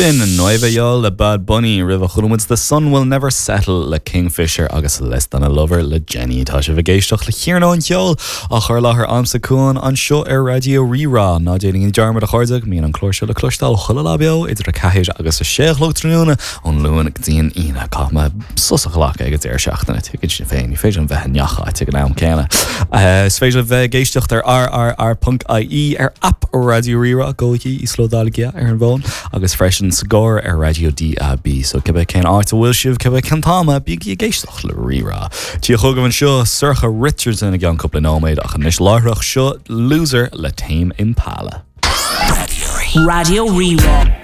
Sin Nuevayol le Bad Bunny roimhe chuala muid The Sun Will Never Settle le Kingfisher agus Less Than A Lover le Jennie. Tá sibh ag éisteacht le Cearnóg an Cheoil á chur i láthair a'msa Cuan anseo ar Raidió Rí-Rá. Ná déanaigí dearmad a chairde go mbíonn an clár seo le cloisteáil chuile lá beo idir 4 agus 6 a chlog tráthnóna ón Luan go dtí an Aoine. Caithfidh mé sos a ghlacadh ag an deireadh seachtaine, tuigeann sibh féin, ní féidir liom bheith i ngach áit ag an am céanna. Is féidir libh bheith ag éisteacht ar rrr.ie, ar aip Raidió Rí-Rá, gabhaigí, íoslódálaigí ar an bhfón, agus freisin sa gcarr ar raidió DAB. So cibé cén áit a bhfuil sibh, cibé cén t-am, bígí ag éisteacht le Rí-Rá. Tiocfaidh chugaibh anseo Sorcha Richardson i gceann cúpla nóiméad, ach anois láithreach seo Loser le Tame Impala. Raidió Rí-Rá.